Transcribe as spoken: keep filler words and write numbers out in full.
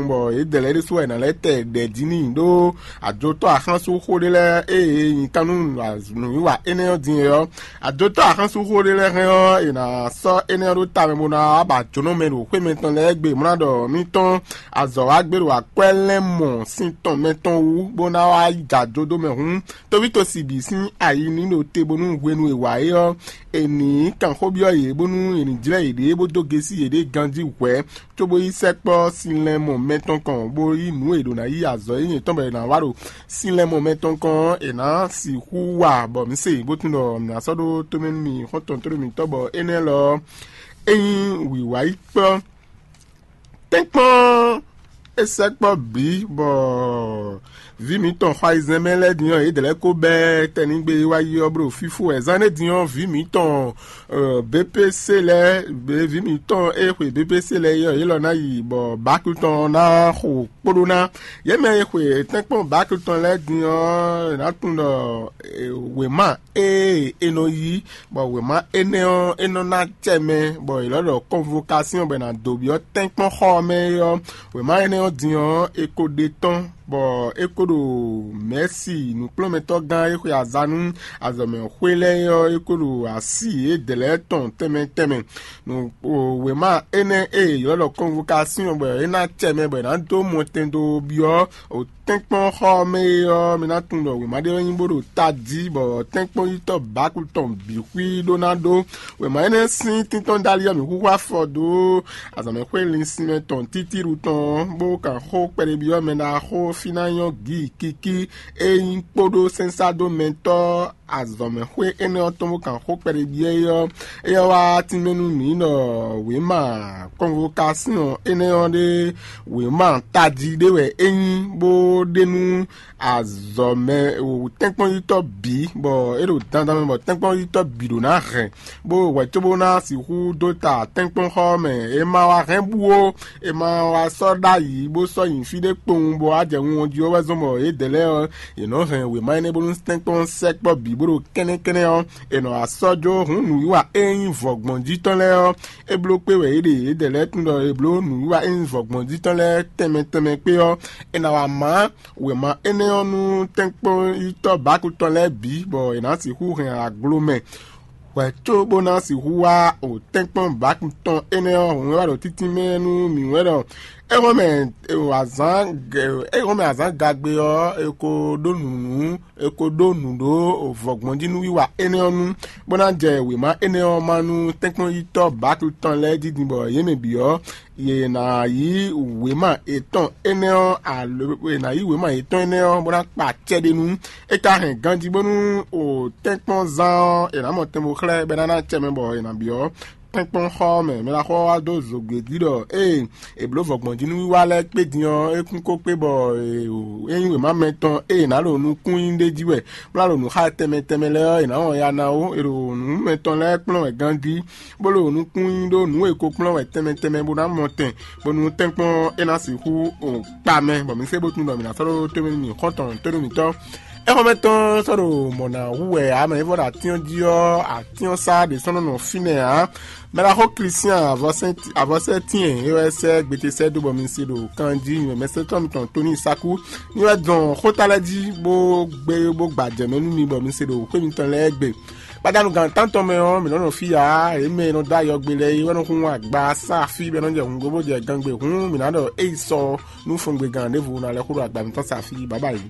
bɔ yědɛɛ lɛ́ɛ ɖésú wɛ è nǎ lɛ́ tɛ ɖɛ̌ jí n'i ɖó ajotɔ́ axánsúnxó ɖé lɛ́ɛ e è nyi kan nú nǔwiwa énɛ́ ɔ́ din é ɔ́. Ajotɔ́ axánsúnxó ɖé lɛ́ɛ hɛn ɔ́, è nǎ sɔ́ énɛ́ ɔ́ ɖó ta mɛ bó ná wá ba jǒnɔ mɛ ɖo xwé mɛtɔn lɛ́ɛ gbe mlá ɖɔ mítɔn azɔ̌ wa gbé ɖo akwɛ́ lɛ́ɛ mɔ sin tɔn mɛtɔn wú bó ná wá jɛ ajo dó mɛ hǔn. Tóvíto sibi sín ayi ní ɖo te bónú hwenu e wǎ é ɔ́, è nǐ kan xó byɔ́ yě bónú è nǐ jlɛ́ yěɖée bó dó gesi yěɖée ganjí hwɛ̌, cóbó yi sɛkpɔ́ sinlɛ́mɔ mɛtɔn kɔn, bó yí nǔ e è ɖǒ ná yí azɔ̌ e nyɛ tɔn bɔ è nǎ wa ɖo sinlɛ́mɔ mɛtɔn kɔn ɔ́, è nǎ sixú wa bɔ mǐ se, bó tunwun ɖɔ mǐ ná sɔ́ ɖó tómɛ nú mi xɔ́ntɔn tónú mǐtɔn, bɔ énɛ́ lɔ ɔ́, é nyí wǐwá yi kplɔ́. Tɛ́nkpɔ́n é sɛkpɔ́ bǐ bɔ vǐ mǐtɔn xɔ ayizɛ́n mɛ lɛ́ɛ din ɔ́, yědɛɛ lɛ́ɛ ko bɛ́ tɛnígbe e wá yi ɔ́ bló fífó wɛ. Zán énɛ́ din ɔ́, vǐ mǐtɔn B P C lɛ́ɛ, vǐ mǐtɔn e xwe B P C lɛ́ɛ é ɔ́, yě lɔ ná yi bɔ báku tɔn ná xo kpóɖó ná. Yě mɛ e xwe tɛ́nkpɔ́n báku tɔn lɛ́ɛ din ɔ́, è nǎ tunwun ɖɔ wěma ée è nɔ yí, bɔ wěma énɛ́ ɔ́, é nɔ ná acɛ mɛ, bɔ è lɔ́ ɖɔ kɔnvokasíɔn bɔ è nǎ dó byɔ́ tɛ́nkpɔ́n xɔ ɔ́ mɛ é ɔ́, wěma énɛ́ ɔ́ din ɔ́, è ko ɖe tɔ́n, bɔ é ko ɖo mɛ̌si nǔkplɔ́nmɛtɔ́gán e xwe aza nú azɔ̌mɛxwé lɛ́ɛ é ɔ́, é ko ɖo así yědɛɛ lɛ́ɛ tɔn tɛnmɛ tɛnmɛ. Nǔ wěma énɛ́ e è ylɔ́ ɖɔ kɔnvokasíɔn bɔ é ná acɛ mɛ bɔ è nǎ dó mɔtɛn dó byɔ́ tɛ́nkpɔ́n xɔ ɔ́ mɛ é ɔ́, mi ná tunwun ɖɔ wěma ɖé wɛ nyí bó ɖo tají, bɔ tɛ́nkpɔ́n yítɔ́ bǎkú tɔn bǐ xwí ɖó ná ɖó. Wěma énɛ́ sín tíntɔ́n dali ɔ́, mǐ xúxú afɔ dó azɔ̌mɛxwé linsinmɛ tɔn títíɖu tɔn, bó kan xó kpɛɖébyɔ́ mɛ ɖaxó fí ná nyɔ́ gǐ kikí e nyí kpóɖó sɛ́nsáɖómɛtɔ́ azɔ̌mɛxwé énɛ́ ɔ́ tɔn bó kan xó kpɛɖébyɔ́ é ɔ́, éyɛ́ wá tínmɛ nú mǐ ɖɔ wěma kɔnvokasíɔn énɛ́ ɔ́ ɖé wěma tají ɖé wɛ é nyí, bó ɖe nú azɔ̌mɛ tɛ́nkpɔ́nyítɔ́ bǐ, bɔ é ɖo dandan mɛ bɔ tɛ́nkpɔ́nyítɔ́ bǐ ɖó ná hɛn, bó hwɛ cóbó ná sixú dó ta tɛ́nkpɔ́nxɔ ɔ́ mɛ. È ma wá hɛn bú ó, è ma wá sɔ́ ɖ'ayǐ bó sɔ́ nyi fí ɖé kpowun bɔ wá jɛ wunwɔn jí ó wɛ zɔ́n bɔ yědɛɛ lɛ́ɛ ɔ́, yě nɔ hɛn wěma énɛ́ bónú tɛ́nkpɔ́n sɛkpɔ́ bǐ bó ɖo kɛ́nɛ́kɛ́nɛ́ ɔ́, è nɔ wá sɔ́ jó hǔn nǔwiwa e nyí vɔ̌gbɔnjí tɔn lɛ́ɛ ɔ́. É bló kpé wɛ yě ɖe yědɛɛ lɛ́ɛ tunwun ɖɔ è bló nǔwiwa e nyí vɔ̌gbɔnjí tɔn lɛ́ɛ tɛnmɛ tɛnmɛ kpé ɔ́, è nǎ wá má wěma énɛ́ ɔ́ nú tɛ́nkpɔ́nyítɔ́ bǎku tɔn lɛ́ɛ bǐ, bɔ è nǎ sixú hɛn aglo mɛ hwɛ̌ có bó ná sixú wá o tɛ́nkpɔ́n bǎku tɔn énɛ́ ɔ́ hun wɛ wá ɖo títínmɛ nú mǐ wɛ ɖɔ é hɔn mɛ azǎn é hɔn mɛ azǎn gagbe ɔ́, è ko ɖó nǔnú è ko ɖó nǔ ɖó vɔ̌gbɔnjínúwiwa énɛ́ ɔ́ nu, bó ná jɛ wěma énɛ́ ɔ́ má nú tɛ́nkpɔ́nyítɔ́ bǎku tɔn lɛ́ɛ jí din bɔ yě mɛ bǐ ɔ́, yě ná yí wěma yětɔn énɛ́ ɔ́ alo è nǎ yí wěma yětɔn énɛ́ ɔ́ bó ná kpa acɛ ɖé nu. É ka hɛn ganjí bónú o tɛ́nkpɔ́nzán ɔ́, è nǎ mɔ tɛn bó xlɛ́ bɔ é ná ná acɛ mɛ bɔ è nǎ byɔ́ tɛ́nkpɔ́nxɔ ɔ́ mɛ. Mɛ ɖaxó ɔ́ wá dó zǒgbé jí ɖɔ ée è blǒ vɔ̌gbɔnjínúwiwa lɛ́ɛ kpé din ɔ́, é kún kó kpé bɔ é nyí wěma mɛtɔn e è nǎ ɖo nukún nyi ɖ'é jí wɛ, bó ná ɖo nǔ xá tɛnmɛ tɛnmɛ lɛ́ɛ ɔ́, è nǎ wɔn ya ná ó. È ɖo nǔ mɛtɔn lɛ́ɛ kplɔ́n wɛ ganjí, bó ɖo nukún nyi ɖó nǔ e ko kplɔ́n wɛ tɛnmɛ tɛnmɛ bó ná mɔ tɛn, bónú tɛ́nkpɔ́n é ná sixú kpa mɛ, bɔ mǐ se bó tunwun ɖɔ mǐ ná sɔ́ ɖó tómɛ nú mì xɔ́ntɔn tónú mǐtɔn. Éxɔ́mɛ tɔn sɔ́ ɖo mɔ̌ ná hu wɛ ǎ, mɛ e vɔ ɖo atín ɔ́ jí ɔ́, atín ɔ́ sá ɖě sɔ́ nɔ nɔ fínɛ́ ǎ. Mɛɖaxó Klisian avɔsɛ́tín e é wɛ sɛ́ gbete sɛ́ dó bɔ mi se ɖo kan jí nyɔ̌mɛsɛntɔ́ mitɔn Tonii Saku ní wɛ dɔn xóta lɛ́ɛ jí bó gbé bó gbajɛ mɛ nú mi bɔ mi se ɖo xwé mitɔn lɛ́ɛ gbe. Gbadanu gan tántɔn mɛ ɔ́, mǐ nɔ́ nɔ fí ǎ; yě mɛ e nɔ dó ayɔgbe lɛ́ɛ é wɛ nɔ hun agba sá fí bɔ é nɔ jɛ hǔngbó bó jɛ gangbé hǔn, mǐ ná ɖɔ éyi sɔ nú fɔngbegan ɖěvo ná lɛ́ xo ɖo agba mitɔn sá fí. Bǎbá yě.